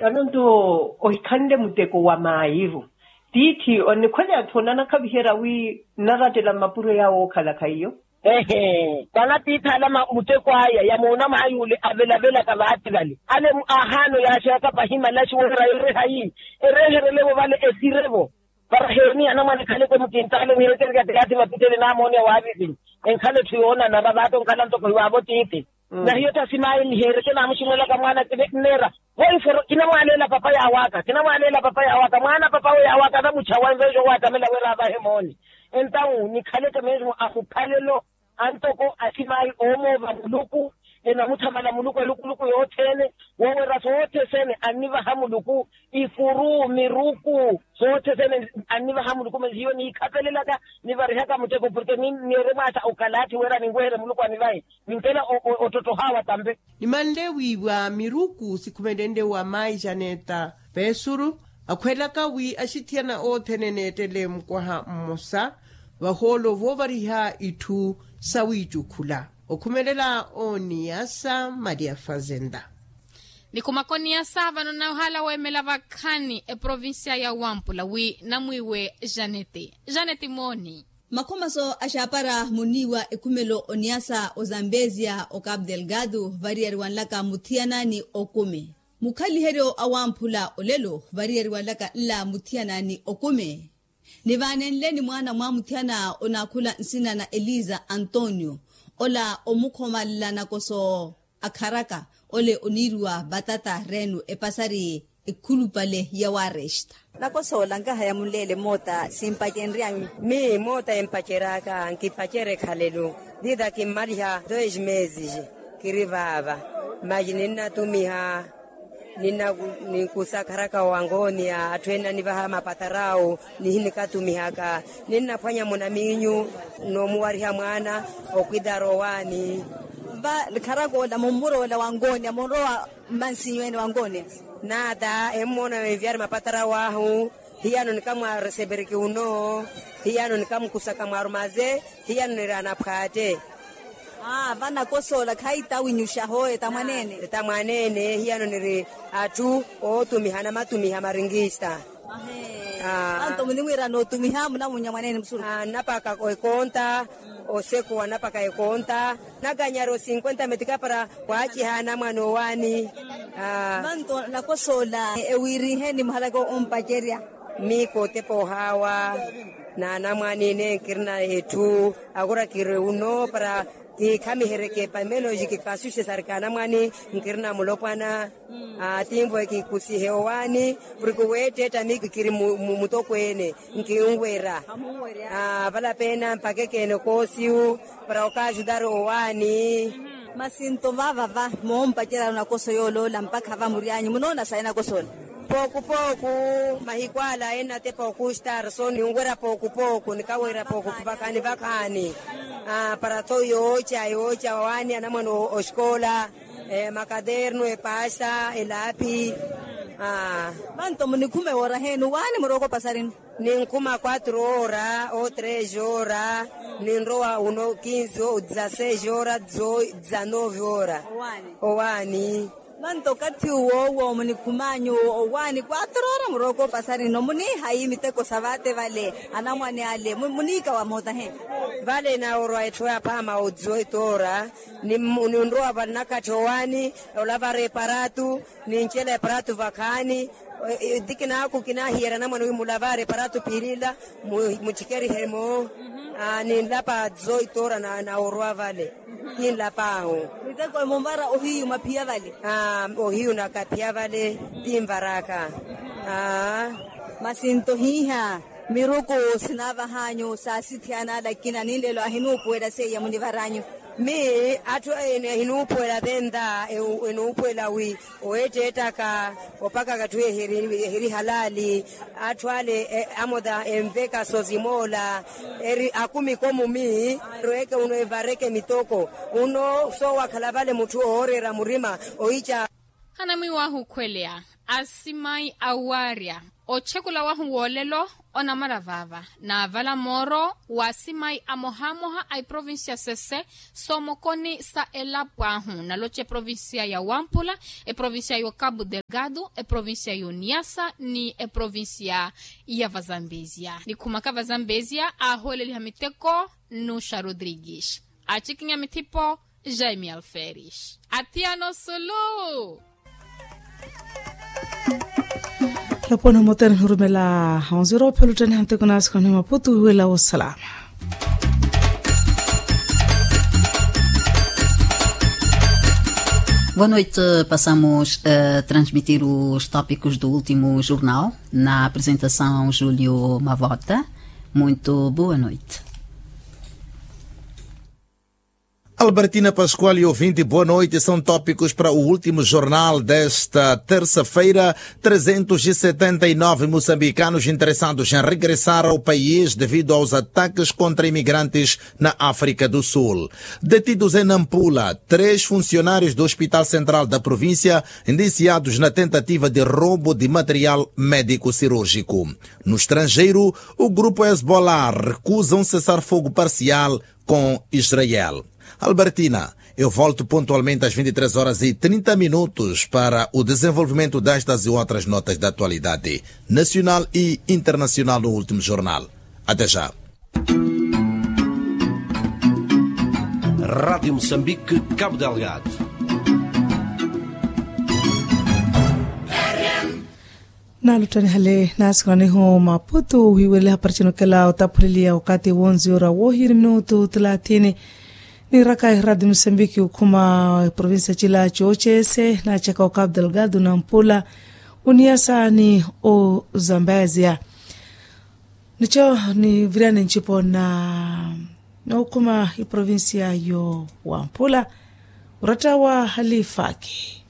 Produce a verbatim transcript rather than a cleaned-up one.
Vano nto ohikhanle muteko wa maayiru. Tiithi onikhwele atthu onanakhaviherya wi nnarattela mmapuro yaawo ookhala khaiyo. Ehe. Vana tiithi ala muteko aya ya moona maayuule avelavelaka vaati vale ale aahaano yaaxeyaka pahi malaxi woora erehayi ereherelevo vale esirevo. Para heeni anamwane ekhale ekemukintaale niherekeryaka tiyaathi vapitele naamooneya waavivinyi. Enkhala etthu yoonanara vaato nkhala ntoko hiwaavo tiithi. Na hiyo tha simaayi niheereke naamuximwelaka mwaana kineera. Voiforo kinamwaaleela papa yaawaka kinamwaaleela papa yaawaka mwaana papa we yaawaka anamuchawa enveexa owaatamela wira avahe mooni. Entawu nikhaleke mesmo ahuphalelo antoko asimaayi oomoova muluku enamuthamala muluku elukuluku yothene. Woowera soothe sene annivaha muluku ifuru miruku soothe sene annivaha muluku masi hiyo niikhapelelaka nivarihaka muteko porke niiremwaasa okalaathi wira ninweherye muluku anivahe. Ninkela ottotthohaawa tampe. Nimanle wiiwa miruku sikhumelenle wa maayi janeta peesuru akhwelaka wi axithiyana othene eneettele mukwaha mmosa vahoolo voovariha itthu sawiicukhula. Okhumelela oniyasa maria fazenda. Nikhumaka oniyasa vano nnahala weemela vakhaani eprovincia ya wampula wi namwiiwe janete janete mooni. Makhomaso axaapara muniiwa ekhumelo oniyasa ozambezia okapu delgado variyariwanlaka muthiyana ni okumi. Mukhaliheryo awamphula olelo variyariwanlaka nla muthiyana ni okumi. Nivaanenle ni mwaana mwa muthiyana onaakhula nsina na eliza antonio ola omukhomalela nakoso akharaka ole oniiriwa vatata reno epasari ekhulupale ya waresta. Nakosoola nkahaya munleele moota simpacenryanyu. Mii moota empaceraka nkipacere ekhalelu. Dida kimmaliha dois meses kiri vaava. Maji ninnatumiha ninkusakharaka owangooniya atthu ene anivaha mapatarau nihinikatumihaka. Ninnaphwanya munamiinyu noomuwariha mwaana okwitara owaani. Va kharaka ola mummuroola wangooniya munrowa mmansinyu ene wangooniya. Naata emmoona enviyari mapatarau ahu hiyano nikamwareseperiki uno. Hiyano nikamukusaka mwarumaze hiyano niri anaphwaatte. Aa vanakosoola khayi tawinyuxa hooyo tamwaneene. Tamwaneene hiyano niri atthu ootumiha namatumiha maringista. Anto munimwiira nootumiha munamunya mwaneene musuru. Nnapaka ekonta osekuwa nnapaka ekonta. Nnakanyari osinkwenta metika para waaciha anamwane owaani. Manto nakosoola ewiirihe ni muhalaka ompacerya. Miiko otepa ohaawa n'anamwane ene nkirina etthu. Akura kiri uno para kikhamihereke pamenos kikasuxe sarika anamwane nkirina mulopwana. Tinvo ekikusihe owaani porke weetteetta miiko kiri mutokweene nkinwera. Vala peena mpakekene koosiyu para okaajudari owaani. Masi nto vavava moompacerya nakoso yooloola mpakha va muryanyu munoona sayi nakosoola. Pooku pooku mahiku ala ennatepa okustar so ninwerya pooku pooku nikawerya pooku vakhaani vakhaani. Para tho yooca yooca owaani anamwane oxikoola makadernu epasa elaapi. Vanto munikhuma ewoora heeni owaani murooko opasarinu. Ninkhuma quatro ora ou tres ora ninrowa uno quinze ou dezasseis ora dezanove ora. Owaani. Vanto okathi uwo owo munikhum'anyu owaani quatro ora murooko opasarinu muniihayi miteko sa vaate vale anamwane ale muniikawa moota he. Vale naorwa etthu aphaama ou dezoito ora ninrowa vale nakatthi owaani olavara eparatu nincela eparatu vakhaani. Ti kinaaku kinahiyerya anamwane wi mulavare paratu piilila muchikerihe-mo. Ninlapa zoitora na orwa vale. Kinlapaahu. Miteko munvara ohiyu maphiya vale. Ohiyu nakaphiya vale. Tinvaraka. Masi nto hiiha miruku sinavahanyu saasithiyana alakina ninlelo ahinuupuwela seiya munivaranyu. Mi atthu ene ehinuupuwela venta enuupuwela wi oweetteettaka opakaka atthu ehiri halaali. Atthu ale amota enveka sozimoola eri akumiko mumi. Rweke uno evareke mitoko uno soowakhala vale mutthu ooreera murima ohica. Hanamwiiwahu okhweleya asimayi awarya Otxekula wahu wolelo onamara vava navala moro wa simayi amohamoha a eprovincia sese, somokoni sa elapo ahu naloxa eprovincia ya wampula, eprovincia yo cabo delgado, eprovincia yo niasa ni eprovincia ya vazambezia. Nikhumaka vazambezia aholeliha miteko nuxa rodrigues, acikinya mithipo jaime alferes. Athiano sulu. Lapona motene nirumela onziro pheluttene hanteko nasikoni maputu wela wosalama. Boa noite. Passamos a transmitir os tópicos do último jornal na apresentação julio mavota. Muito boa noite. Albertina pascoal e ouvinte, boa noite. São tópicos para o último jornal desta terça-feira. Trezentos e setenta e nove moçambicanos interessados em regressar ao país devido aos ataques contra imigrantes na África do Sul. Detidos em Nampula três funcionários do hospital central da província, indiciados na tentativa de roubo de material médico cirúrgico. No estrangeiro, o grupo hezbollah recusa um cessar-fogo parcial com israel. Albertina, eu volto pontualmente às vinte e três horas e trinta minutos para o desenvolvimento destas e outras notas da atualidade nacional e internacional no último jornal. Até já. Rádio Moçambique, Cabo Delgado. Naaluttaniha le naasikwanihu maputu wiiwerele hapari cinokela otaphuleliya wakati wonziwera woohiri minutu thelathini. Niiraka ehi radio mosambiki okhuma provincia cila cooceese naacaka okapu delgado nampula, oniyasa ni ozambezia. Nico niviriyani ncipo na nookhuma eprovincia yo wampula, oratta wa halifaki.